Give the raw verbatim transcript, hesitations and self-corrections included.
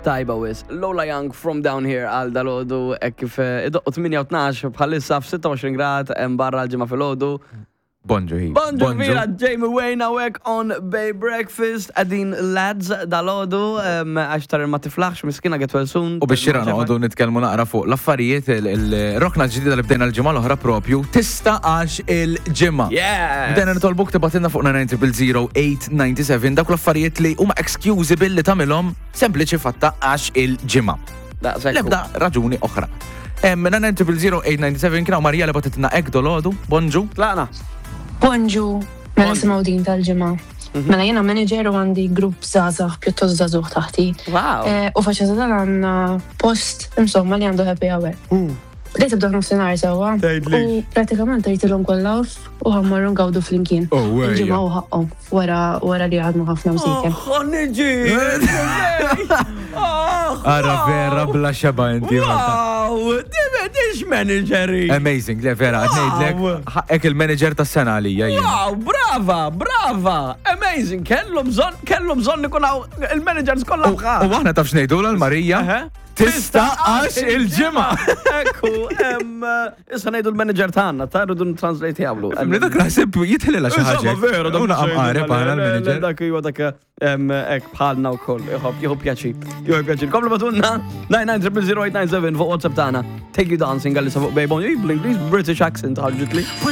Tajba wisq. Lola Young, "From Down Here" għal dalgħodu, hekk kif eh, idoqqu tmienja u tnax bħalissa f'sitta u għoxrin grad hemm barra l-Ġimgħa filgħodu. Bonġu hi. Bonġu Vera, Jamie Wayne hawnhekk on Bay Breakfast, għadin lads dalgħodu, għax tar ma tiflaħx, miskina, get well soon. U biex xira noqogħdu nitkellmu naqra fuq l-affarijiet, il-rokna ġdida li bdejna l-ġimgħa l-oħra propju, "Tista' għax il-Ġimgħa". Yes! Bdejna nitolbuk tibgħatilna fuq nine nine zero zero eight nine seven dawk l-affarijiet li huma excusable li tagħmilhom sempliċi fatta għax il-Ġimgħa. Daqshekk. Lebda raġuni oħra. nine nine zero zero eight nine seven, kien hawn Marija li bagħtitilna hekk dalgħodu, bonġu. Tlaqna. Bonġu, mela nisimgħu din tal-Ġimgħa. Mela jiena manager u għandi grupp żgħażagħ, pjuttost żagħżugħ taħti. Wow. Eh, U faċċata dan għandna post insomma li għandu happy hour. Li tibda nofsinhar sewwa. Tgħidlix. U pratikament tgħidilhom kollha off u ħa mmorru ngawdu flimkien. Oh, wejja. Il-Ġimgħa u ħaqqhom wara wara li għadmu ħafna msiken. Oh, niġi! Ara vera bla xeba inti. Wow! Dix manageri! Amazing, le vera, Wow. ngħidlek, ħaqqek il-manager tas-sena għalija jien. Wow, brava, brava! Amazing! Kellu bżonn, kellu bżonn ikun hawn il-managers kollha U bħal. u aħna taf x'ngħidu l-Marija? Eħe. Tista' għax il-Ġimgħa. Ekku, em, issa ngħidu l-manager tagħna, ta' rridu translate jagħmlu. Mni dak naħseb jitħlilha xi ħaġa. Insomma, vera, dak Una qamqareb aħna l-manager. Dak huwa dak em, hekk bħalna wkoll, jħobb jieħu pjaċir. Jieħu pjaċir. Komplu ibgħatulna nine nine zero zero eight nine seven fuq WhatsApp tagħna. "Take You Dancing" għal fuq Bejbon. Bl-Ingliż British accent ħarġitli.